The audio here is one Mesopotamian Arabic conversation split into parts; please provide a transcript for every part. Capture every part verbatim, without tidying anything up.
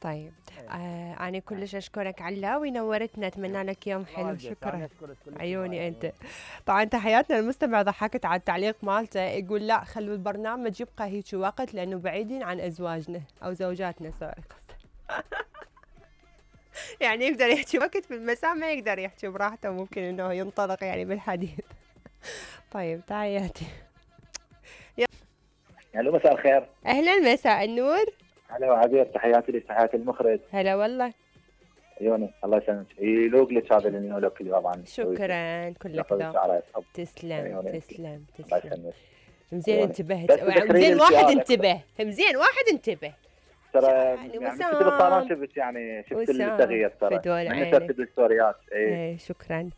طيب. إيه. آه أنا كلش أشكرك علاوي، نورتنا، أتمنى لك يوم الله حلو. يجزاك، أنا شكرا. أشكرك كلش عيوني هواية، أنت. عيوني. طبعا تحياتنا المستمع ضحكت على التعليق مالته، يقول لا خلوا البرنامج يبقى هيك وقت لأنه بعيدين عن أزواجنا أو زوجاتنا سوري قصدي. يعني يقدر يحكي وقت في المساء ما يقدر يحكي براحته، ممكن إنه ينطلق يعني بالحديث. طيب تحياتي. الو مساء الخير. أهلا مساء النور. هلا وعبير، تحياتي لك، تحياتي المخرج. هلا والله. عيوني الله يسلمك، يلوق لك هذا اللي يلوق لي طبعا. شكرا كلك ذوق. تسلم تسلم تسلم. مزين انتبهت، مزين واحد انتبه، مزين واحد انتبه. ترى يعني شفت بالطيران، شفت يعني شفت التغيير ترى من ترتيب الستوريات. اي شكرا.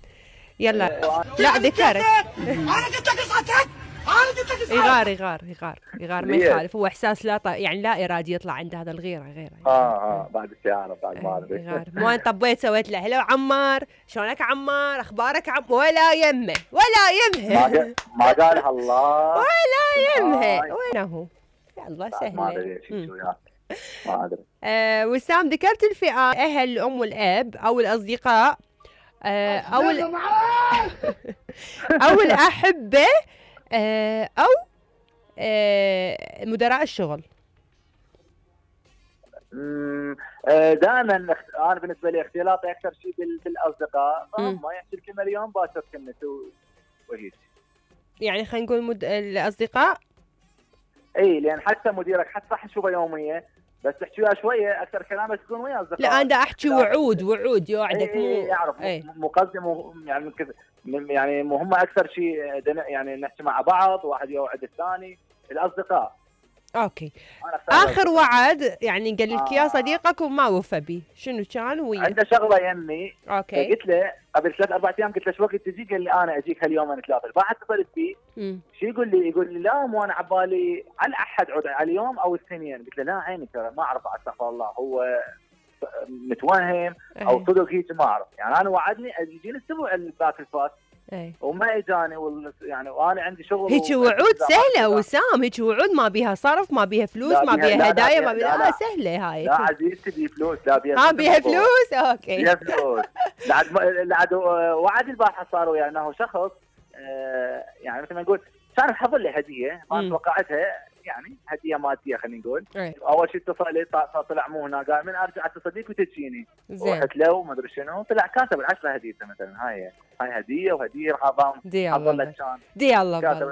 يلا لا ذكرت. انا قلت لك اصعد، انا قلت لك يغار يغار يغار يغار ما يخالف، هو احساس لا ط... يعني لا ارادي يطلع عنده هذا الغيره غيره. اه اه بعد السياره بعد ما ادري. يغار مو انا طبيت سويت له هلو عمار شلونك عمار اخبارك عم ولا يمه ولا يمه. ما ما قالها الله ولا يمه. وينه هو؟ يلا سهله. ما ادري شو وياه ما ادري. آه وسام ذكرت الفئات، اهل الام والاب او الاصدقاء آه او ال... او الاحبه آه او آه مدراء الشغل. امم دائما انا بالنسبه لي اختلاطي اكثر شيء بالاصدقاء، ما يحكي الكلمه اليوم باكر كلمته وهيك. يعني خلينا نقول مد... الاصدقاء. اي لان حتى مديرك حتى صح تشوفه يوميا بس تحكي وياه شويه اكثر كلامك تكون ويا اصدقائك. لا انا احكي وعود وعود يوعدك. مو يعرف مقدم يعني يعني هم اكثر شيء يعني نحكي مع بعض، واحد يوعد الثاني. الاصدقاء اوكي. اخر وعد يعني قال لك يا صديقك وما وفى به، شنو كان ويا؟ عنده شغله يمي. اوكي. قلت له قبل ثلاث اربع ايام، قلت له شو وقت تجي؟ قال لي انا اجيك هاليومين ثلاثه. بعد اتصلت فيه شو يقول لي؟ يقول لي لا مو انا عبالي على الاحد عود على اليوم او الاثنين. قلت له لا عيني ترى ما اعرف، استغفر الله هو متوهم او صدق هيك ما اعرف. يعني انا وعدني يجيني الاسبوع الباك الفات اي وما اجاني وال... يعني وانا عندي شغل. هيك وعود سهله وسام، هيك وعود ما بيها صرف ما بيها فلوس ما بيها هدايا ما بيها. لا سهله هاي. لا عزيزتي بي فلوس. لا بيها ها بيها فلوس. اوكي بيها فلوس. لعد لعد وعد البارحه صار وياه انه شخص آه يعني مثل ما نقول كان حضر لي هديه ما توقعتها، يعني هديه ماديه خلينا نقول. أي. اول شيء اتصل لي طلع مو هنا، قال من ارجع اتصل بيك وتجيني. رحت له وما ادري شنو، طلع كاتب العشره هديته مثلا. هاي هاي هديه وهديه راح اضام دي الله دي الله.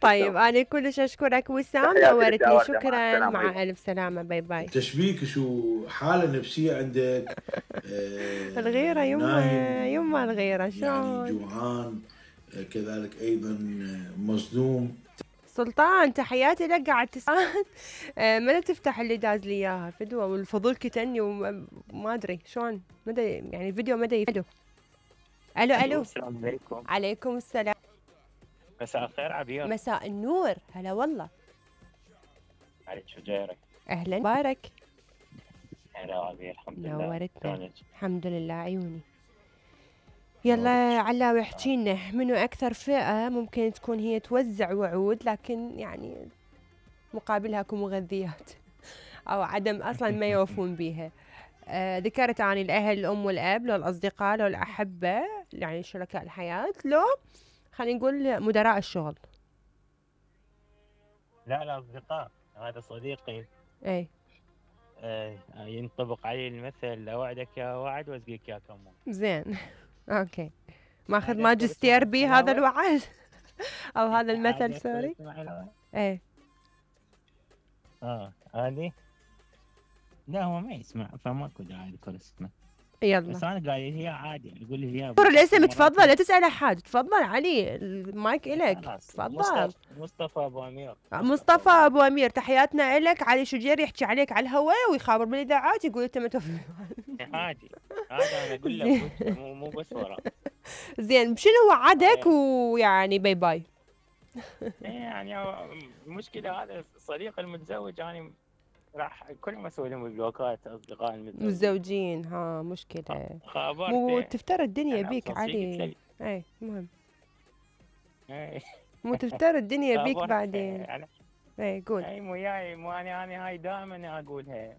طيب انا كلش اشكرك وسام، نورتني. شكرا مع الف سلامه. باي باي. تشبيك شو حاله نفسيه عندك؟ آه الغيره يما يما الغيره شلون يعني جوعان كذلك ايضا مصدوم. سلطان تحياتي لك. قاعد تسأل آه من تفتح اللي داز لي اياها فدوه والفضول كتني وما ادري شلون مدى يعني الفيديو مدى يفيدو. الو الو السلام عليكم. عليكم السلام. مساء الخير عبير. مساء النور. هلا والله. عليك شو جايرك؟ اهلا بارك. هلا عبير الحمد لله. نورتنا. الحمد لله عيوني. يلا علاوي احكي لنا منو اكثر فئه ممكن تكون هي توزع وعود لكن يعني مقابلها اكو مغذيات او عدم اصلا ما يوفون بيها. آه ذكرت عن الاهل الام والاب، لو الاصدقاء، لو الاحبه يعني شركاء الحياه، لو خلينا نقول مدراء الشغل. لا الاصدقاء، هذا صديقي. اي آه ينطبق عليه المثل اوعدك يا وعد واسقيك يا كمون. زين اوكي. ماخذ ماجستير بيه هذا الوعد او هذا المثل سوري. ايه اه هذه لا هو ما يسمع فماكو داعي اذكر اسمه. يلا بس انا قايل هي عادي يقول لي هي. قول الاسم تفضل لا تسال احد. تفضل علي المايك الك. تفضل. مصطفى ابو امير. مصطفى ابو امير تحياتنا الك. علي شجير يحكي عليك على الهواء ويخابر بالاذاعات يقول انت ما تفهم. عادي هذا انا اقول لك مو مو بس ورا. زين شنو وعدك ويعني باي باي. يعني المشكله هذا الصديق المتزوج يعني راح كل ما اسوي لهم بلوكات اصدقاء المتزوجين متزوجين. ها مشكله. خابرته مو تفترى الدنيا بيك علي. اي مهم. اي مو تفترى الدنيا بيك بعدين. اي قول. اي مو جاي مو انا انا هاي دائما اقولها